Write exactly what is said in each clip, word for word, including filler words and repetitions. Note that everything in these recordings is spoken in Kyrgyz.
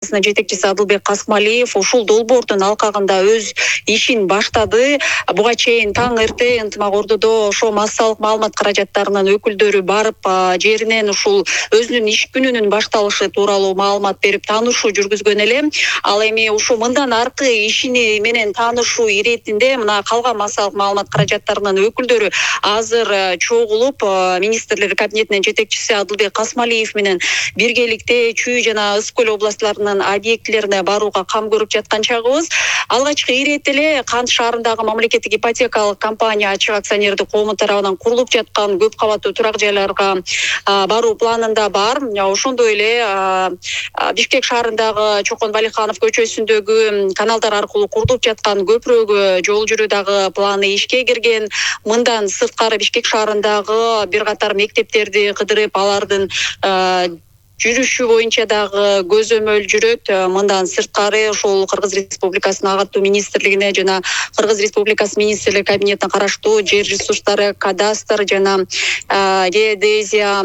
жетекчиси Адылбек Касымалиев ушул долбоордун алкагында өз ишин баштады. Буга чейин таң эрте ынтымак ордодо ошо массалык маалымат каражаттарынын өкүлдөрү барып жеринен ушул өзүнүн иш күнүнүн башталышы тууралуу маалымат берип таанышуу жүргүзгөн эле. Ал эми ушул мындан аркы ишини менен таанышуу иретинде мына калган массалык маалымат каражаттарынын өкүлдөрү азыр чогулуп министрлер кабинетинин жетекчиси Адылбек Касымалиев менен биргеликте Чүй жана Ысык көл областтарынын объектилерине барууга кам көрүп жаткан чагыбыз. Алгачкы ирет эле Кант шаарындагы мамлекеттик ипотекалык компания ачык акционердик коому тарабынан курулуп жаткан көп кабаттуу турак жайларга баруу планында бар. Ошондой эле Бишкек шаарындагы Чокон Балиханов көчөсүндөгү каналдар аркылуу курулуп жаткан көпүрөгө жол жүрүү дагы планы ишке кирген. Мындан сырткары Бишкек шаарындагы бир катар мектептерди кыдырып алардын жүрүшү боюнча дагы көзөмөл жүрөт. Мындан сырткары ошол Кыргыз Республикасынын агартуу министрлигине жана Кыргыз Республикасы министрлер кабинетине караштуу жер ресурстары, кадастр жана геодезия,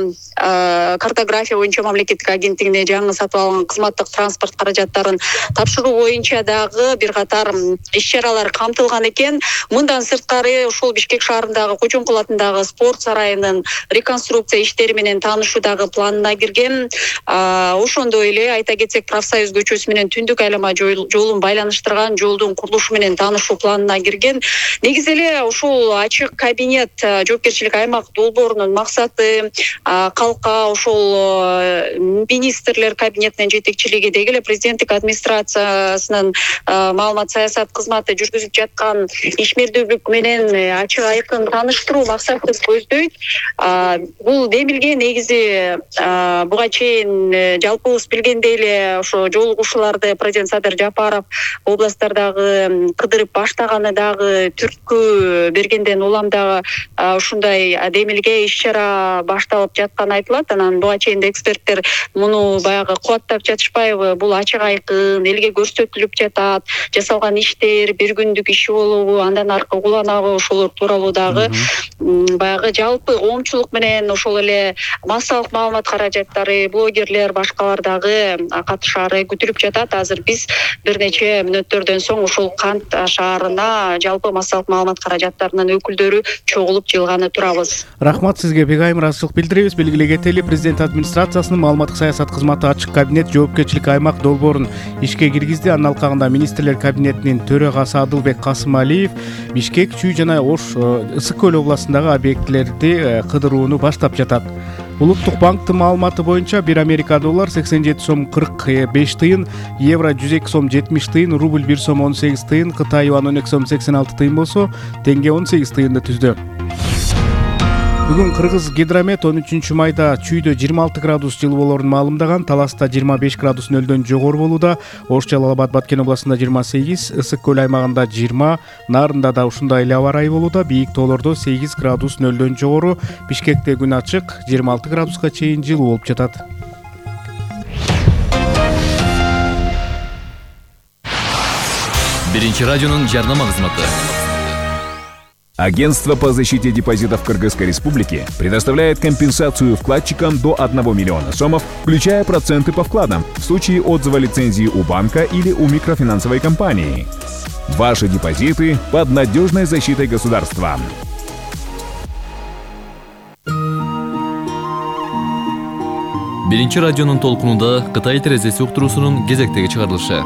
картография боюнча мамлекеттик агенттигине жаңы сатып алынган кызматтык транспорт каражаттарын тапшыруу боюнча дагы бир катар иш-чаралар камтылган экен. Мындан сырткары ошол Бишкек шаарындагы Кочоңкул атындагы спорт сарайынын реконструкция иштери менен таанышуу дагы планына кирген. Ошондой эле айта кетсек, Профсоюз көчөсү менен Түндүк айлама жолун байланыштырган жолдун курулушу менен таанышуу планына кирген. Негизи эле ушул ачык кабинет жоопкерчилик аймак долбоорунун максаты калкка ошол министрлер кабинетинин жетекчилиги деги эле президенттик администрациясынын маалымат саясат кызматы жүргүзүп жаткан ишмердүүлүк менен ачык айкын тааныштыруу максатын көздөйт. Бул демилге негизи буга чейин жалпыбыз билгендей эле ошо жолугушууларды президент Садыр Жапаров областтардагы кыдырып баштаганы дагы түрткү бергенден улам дагы ушундай демилге иш-чара башталып жатканы айтылат. Анан буга чейин эксперттер муну баягы кубаттап жатышпайбы? Бул ачык айкын элге көрсөтүлүп жатат. Жасалган иштер бир күндүк иш болобу, андан аркы уланабы? Ошолор тууралуу дагы баягы жалпы коомчулук менен ошол эле массалык маалымат каражаттары, блогерлер, башкалар дагы катышаары күтүлүп жатат. Азыр биз бир нече мүнөттөрдөн соң ушул Кант шаарына жалпы массалык маалымат каражаттарынын өкүлдөрү чогулуп жыйылганы турабыз. Рахмат сизге, бек айым ыраазычылык билдиребиз. Белгилей кетели, президент администрациясынын маалыматтык саясат кызматы ачык кабинет жоопкерчилик аймак долбоорун ишке киргизди. Анын алкагында министрлер кабинетинин төрагасы Адылбек Касымалиев Бишкек, Чүй жана Ош Ысык көл областындагы объектилерди кыдырууну баштап жатат. Улуттук банктын маалыматы боюнча бир Америка доллар сексен жети сом кырк беш тыйын, евро жүз эки сом жетимиш тыйын, рубль бир сом он сегиз тыйын, Кытай юан он эки сом сексен алты тыйын болсо, теңге он сегиз тыйынды түздү. Бүгүн Кыргыз гидромет он үчүнчү майда Чүйдө жыйырма алты градус жылуу болоорун маалымдаган. Таласта жыйырма беш градус нөлдөн жогору болууда. Ош, Жалал Абад, Баткен областында жыйырма сегиз, Ысык көл аймагында жыйырма, Нарында да ушундай эле аба ырайы болууда. Бийик тоолордо сегиз градус нөлдөн жогору. Бишкекте күн ачык, жыйырма алты градуска чейин жылуу болуп жатат. Биринчи радионун жарнама кызматы. Агентство по защите депозитов Кыргызской Республики предоставляет компенсацию вкладчикам до одного миллиона сомов, включая проценты по вкладам, в случае отзыва лицензии у банка или у микрофинансовой компании. Ваши депозиты под надежной защитой государства. Биринчи радионун толкунунда Кытай терезеси уктуруусунун кезектеги чыгарылышы.